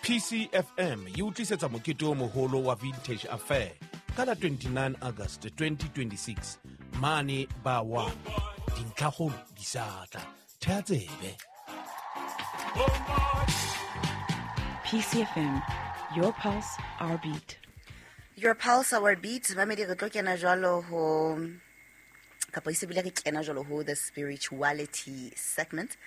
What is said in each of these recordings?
PCFM e o tlisetsa mokete o moholo wa Vintage Affair ka la 29 August 2026 mane ba 1. Dintlhakgolo di sa tla. Thea tsebe. PCFM, your pulse, our beat. Your pulse, our beat. Mamedi, re tlo kena jwalo ho, kapa e se bile re kena jwalo ho the spirituality segment,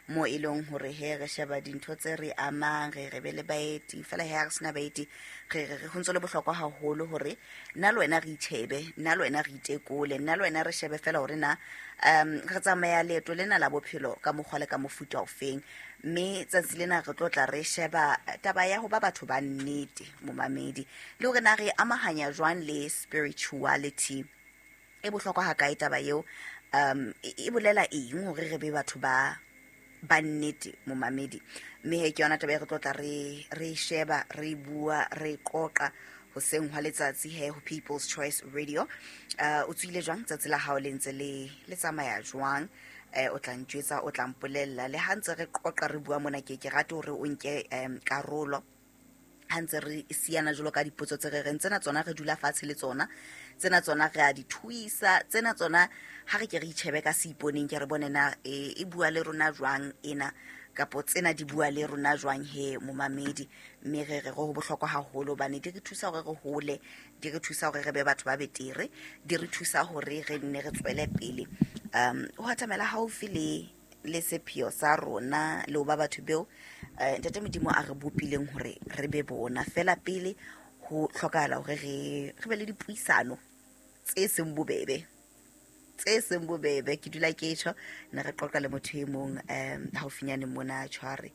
mo e leng hore he re sheba dintho tse re amang, re re be le baeti fela. He ha re sena baeti, re re ho ntso le bohlokwa haholo hore nna le wena re itjhebe, nna le wena re itekole, nna le wena re shebe fela hore na re tsamaya leeto lena la bophelo ka mokgwa le ka mofuta ofeng. Mme tsatsi lena re tlo tla re sheba taba ya ho ba batho ba nnete, momamedi, le hore na re amahanya jwang le spirituality. E bohlokwa ha kae taba eo? E bolela eng hore re be batho ba nnete, momamedi? Mme he ke yona taba e re tlo tla re sheba, re bua, re qoqa hoseng hwa letsatsi he ho People's Choice Radio. O tswile jwang? Tsatsi la hao le ntse le tsamaya jwang? O tla ntjwetsa, o tla mpolella. Le ha ntse re qoqa, re bua mona, ke rate hore o nke karolo ha ntse re siana jwalo ka dipotso tse re reng tsena tsona re dula fatshe le tsona, tsena tsona re a di thuisa, tsena tsona ha re ke re itjhebe ka seiponeng, ke re bone na e bua le rona jwang ena, kapo tsena di bua le rona jwang he, momamedi. Mme re re go bohlokwa haholo hobane di re thusa hore re hole, di re thusa hore re be batho ba betere, di re thusa hore re nne re tswele pele ho atamela haufi le sepheo sa rona le ho ba batho beo Ntate Modimo a re bopileng hore re be bona. Fela pele ho hlokahala hore re be le dipuisano tse seng bobebe, tse seng bobebe. Ke dula ke tjho, ne re qoqa le motho e mong haufinyane mona, tshware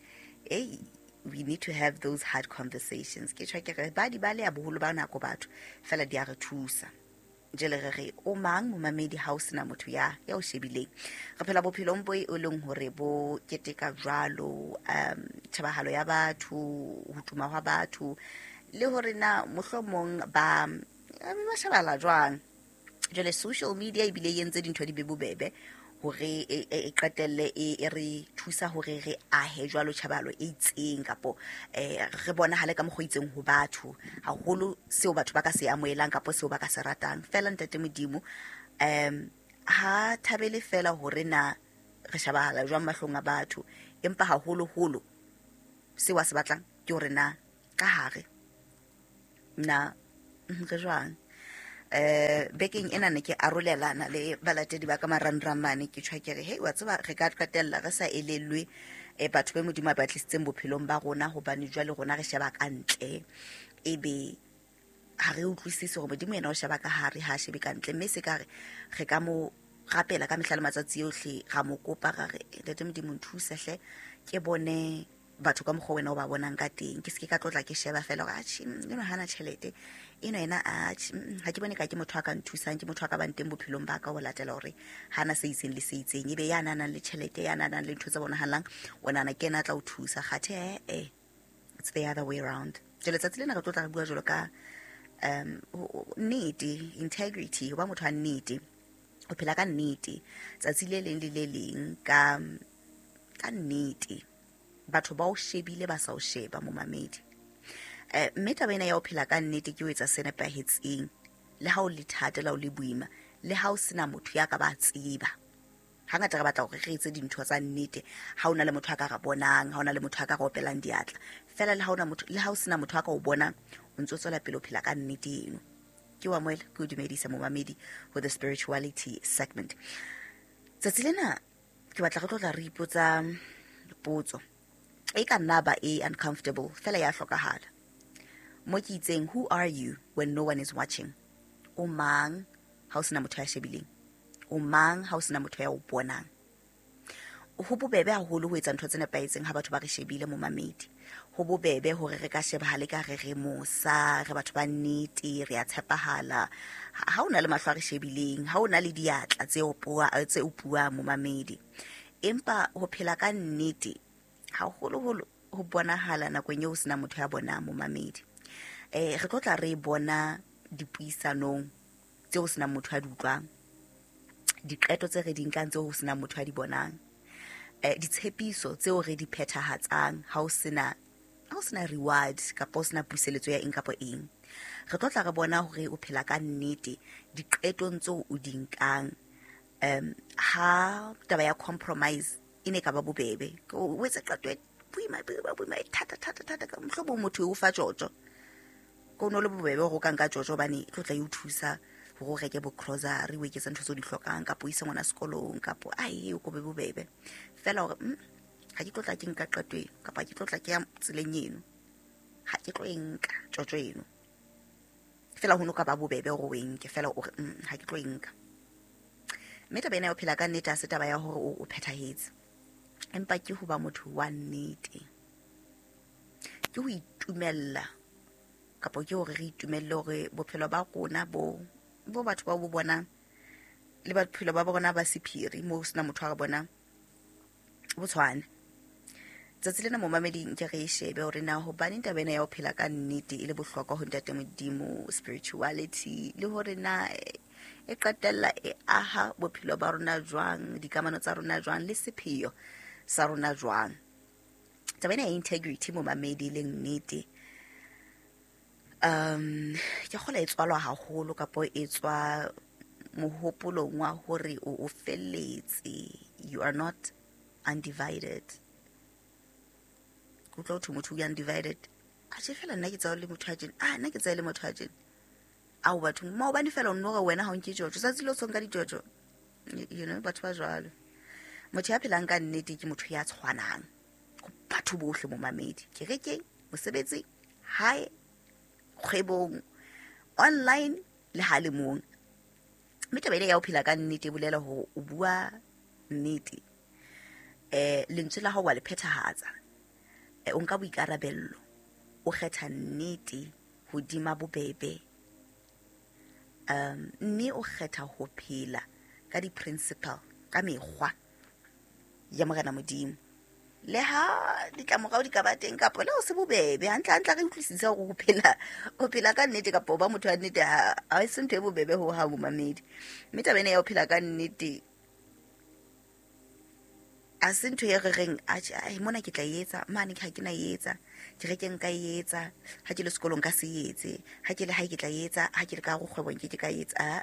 ei, we need to have those hard conversations. Ke tjho ke re ba di baleha boholo ba nako batho, fela di a re thusa. Jele re re o mang, momamedi, ha o sena motho ya o shebileng? Re phela bophelong bo e leng hore bo keteka jwalo tjhebahalo ya batho, ho tuma hwa batho, le hore na mohlomong ba shebahala jwang. Jwale social media ebile e entse dintho di be bobebe hore e qetelle e re thusa hore re ahe jwalo tjhebahalo e itseng, kapo re bonahale ka mokgwa o itseng ho batho, haholo seo batho ba ka se amohelang kapo seo ba ka se ratang. Fela Ntate Modimo ha thabele fela hore na re shebahala jwang mahlong a batho, empa haholoholo seo a se batlang ke hore na ka hare na re jwang. Bekeng ena ne ke arolelana le balatedi ba ka marangrang mane, ke tjho ke re hey, wa tseba, re ka qetella re sa elellwe batho be Modimo a ba tlisitseng bophelong ba rona, hobane jwale rona re sheba ka ntle, ebe ha re utlwisise hore Modimo yena o sheba ka hare, ha a shebe ka ntle. Mme se ka re ka mo rapela ka mehla le matsatsi ohle, ra mo kopa, ra re, Ntate Modimo, nthuse hle ke bone batho ka mokgwa wena o ba bonang ka teng, ke seke ka tlotla ke sheba fela hore atjhe, eno hana tjhelete eno, ena atjhe, ha ke bone ka ke motho a ka nthusang, ke motho a ka bang teng bophelong ba ka, ho latela hore hana se itseng le se itseng. Ebe ya nang le tjhelete, ya nang le ntho tse bonahalang, o nahana ke ena a tla o thusa, kgathe it's the other way round. Jwale letsatsi lena re tlo tla re bua jwalo ka nnete, integrity, ho ba motho wa nnete, ho phela ka nnete tsatsi le leng le le leng, ka nnete, batho ba o shebile ba sa o sheba, momamedi. Mme taba ena ya ho phela ka nnete ke ho etsa se nepahetseng le ha o le thata, le ha o le boima, le ha o sena motho ya ka ba tseba. Hangata re batla hore re etse dintho tsa nnete ha o na le motho a ka re bonang, ha o na le motho a ka re opelang diatla. Fela le ha ona motho, le ha o sena motho a ka o bonang, o ntso tswela pele o phela ka nnete eno. Ke wa moela, ke o dumedisa, momamedi, ho the spirituality segment. Tsatsi lena ke batla re tlo tla re ipotsa potso e ka nna ba e uncomfortable, fela ya hlokahala. Mo ke itseng, who are you when no one is watching? O mang ha o sena motho ya shebileng? O mang ha o sena motho ya o bonang? Ho bobebe haholo ho etsa ntho tse nepahetseng ha batho ba re shebile, momamedi. Ho bobebe hore re ka shebahale ka re re mosa, re batho ba nnete, re a tshepahala ha o na le mahlo a re shebileng, ha o na le diatla tse tse opuwang, momamedi. Empa ho phela ka nnete haholoholo ho bonahala nakong eo ho sena motho ya bonang, momamedi. Re tlo tla re bona dipuisanong tseo ho senang motho a di utlwang, diqeto tse re di nkang tseo ho senang motho a di bonang, ditshepiso tseo re di phethahatsang ha ho sena Ha o sena reward kapa o sena puseletso ya eng kapa eng. Re tlo tla re bona hore o phela ka nnete diqetong tseo o di nkang. Ha taba ya compromise e ne ka ba bobebe, o etse qeto e boima, boima, boima, e thata, thata, thata, ka mohlomong motho o fa tjotjo. Ko no le bobebe hore o ka nka tjotjo hobane e tlo tla e o thusa hore o reke bo grocery, o eketse ntho tseo di hlokang, kapa o ise ngwana sekolong, kapa ai, o ko be bobebe. Feela hore, ha ke tlo tla ke nka qeto eno, kapa ha ke tlo tla ke ya tseleng eno, ha ke tlo e nka tjotjo eno. Feela ho no ka ba bobebe hore o e nke, feela o re, ha ke tlo e nka. Mme taba ena ya ho phela ka nnete ha se taba ya hore o phethahetse, empa ke ho ba motho wa nnete. Ke ho itumella, kapa ke hore re itumelle hore bophelo ba rona bo batho ba bo bonang, le bophelo ba rona ba sephiri, moo ho sena motho a re bonang, bo tshwane. Tsatsi lena momamedi nke re e shebe hore na hobaneng taba ena ya ho phela ka nnete e le bohlokwa ho Ntate Modimo, spirituality, le hore na e qetella e aha bophelo ba rona jwang, dikamano tsa rona jwang, le sepheo sa rona jwang. Taba ena ya integrity momamedi e leng nnete, ke kgolwa e tswalwa haholo kapo e tswa mohopolong wa hore o felletse, you are not undivided. Ke utlwa ho thwe motho o undivided. Atjhe, feela nna ke tsaya le motho a tjena. Ah, nna ke tsaya le motho a tjena. Ao, batho, maobane feela o nno re wena ha o nke tjotjo. Tsatsi le o so nka ditjotjo. You know, batho ba jwalo. Motho ya phelang ka nnete ke motho ya tshwanang ho batho bohle momamedi. Kerekeng, mosebetsing, hae, kgwebong, online le ha le mong. Mme taba ena ya ho phela ka nnete e bolela hore o bua nnete. Lentswe la hao wa le phethahatsa. O nka boikarabello, o kgetha nnete hodima bobebe. Mme o kgetha ho phela ka di-principle, ka mekgwa ya Morena Modimo. Le ha ditlamorao di ka ba teng kapa le ho se bobebe, hantle hantle re utlwisise hore ho phela ka nnete kapa ho ba motho wa nnete ha e se ntho e bobebe ho hang momamedi. Mme taba ena ya ho phela ka nnete ha se ntho e re reng, atjhe, ai, mona ke tla e etsa, mane ha ke na e etsa, kerekeng nka e etsa, ha ke le sekolong nka se etse, ha ke le hae ke tla e etsa, ha ke le ka hare kgwebong ke ke ka e etsa. Ah,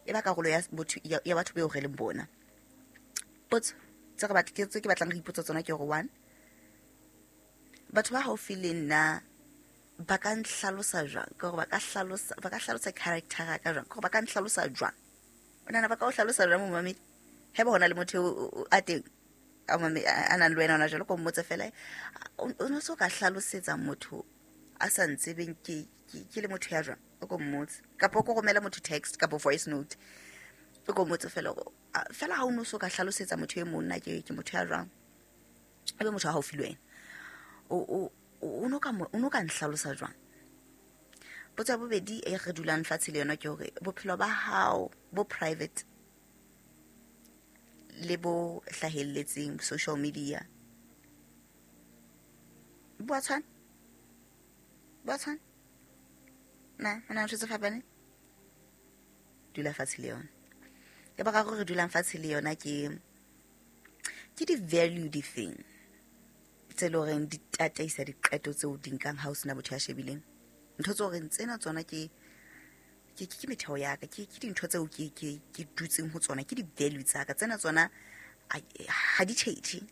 e ba karolo ya botho, ya batho beo re leng bona. Potso tse re batla, tse ke batlang re ipotsa tsona ke hore, one, batho ba haufi le nna ba ka nhlalosa jwang? Ke hore ba ka hlalosa character ya ka jwang? Ke hore ba ka nhlalosa jwang? O nahana ba ka o hlalosa jwang, momamedi? Haeba hona le motho a teng, a mame, a nang le wena hona jwale, ko mmotse fela, o no so ka hlalosetsa motho a sa ntsebeng ke le motho ya jwang? O ko mmotse. Kapa o ko romela motho text kapa voice note. O ko mmotse fela hore, fela ha o no so ka hlalosetsa motho e mong na ke motho ya jwang? Ebe motho a haufi le wena. O no ka nhlalosa jwang? Potso ya bobedi e re dulang fatshe le yona ke hore bophelo ba hao bo private le bo hlahelletseng social media bo a tshwana? Bo a tshwana? Na, ho na le ntho tse fapaneng? Dula fatshe le yona. Ya boraro re dulang fatshe le yona ke di-value difeng tse leng horeng di tataisa diqeto tseo di nkang ha o sena motho ya shebileng. Ntho tse horeng tsena tsona ke metheo ya ka, ke dintho tseo ke dutseng ho tsona, ke di-value tsa ka. Tsena tsona, ha di tjhetjhe,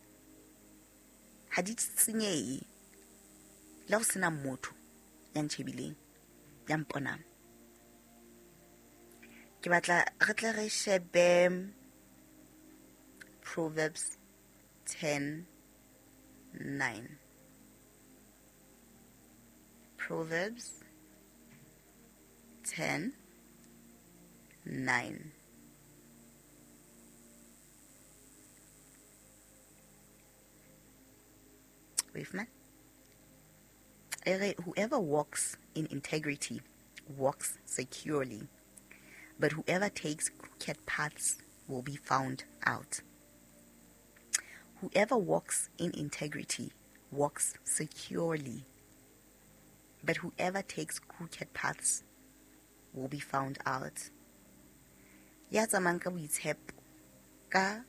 ha di senyehe le ha ho sena motho ya ntjhebileng, ya mponang. Ke batla re tle re shebe Proverbs 10:9. Proverbs 10:9. Wait, man. Ere, whoever walks in integrity walks securely, but whoever takes crooked paths will be found out. Whoever walks in integrity walks securely, but whoever takes crooked paths will be found out. Ya tsamayang ka boitshepo, ka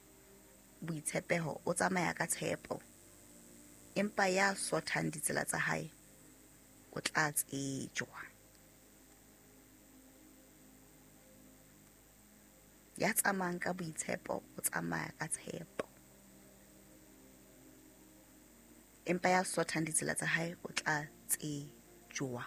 boitshepeho, o tsamaya ka tshepo. Empa ya sothang ditsela tsa hae o tla tsejwa. Ya tsamayang ka boitshepo o tsamaya ka tshepo. Empa ya sothang ditsela tsa hae o tla tsejwa.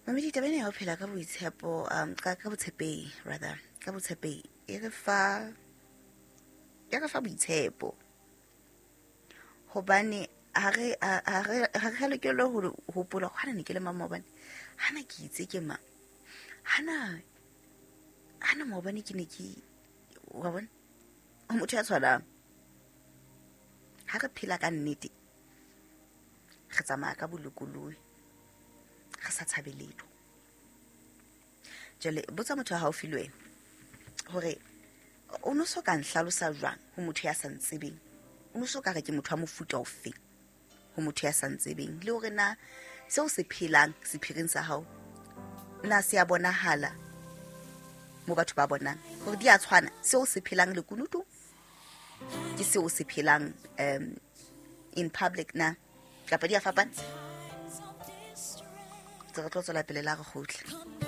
Mamedi, taba ena ya ho phela ka boitshepo, ka botshepehi rather, ka botshepehi e re fa boitshepo. Hobane ha re lokele ho hopola hana ne ke le mang maobane, hana ke itse ke mang, hana maobane ke ne ke wa bona o motho ya tshwanang. Ha re phela ka nnete, re tsamaya ka bolokolohi, re sa tshabe letho. Jwale botsa motho wa haufi le wena hore o no so ka nhlalosa jwang ho motho ya sa ntsebeng, o no so ka re ke motho wa mofuta ofe ho motho ya sa ntsebeng, le hore na seo se phelang sephiring sa hao na se a bonahala mo batho ba bonang hore di a tshwana. Seo se phelang lekunutu ke seo se phelang in public na, kapa di a fapana. Re tlo tswela pele la re kgutle.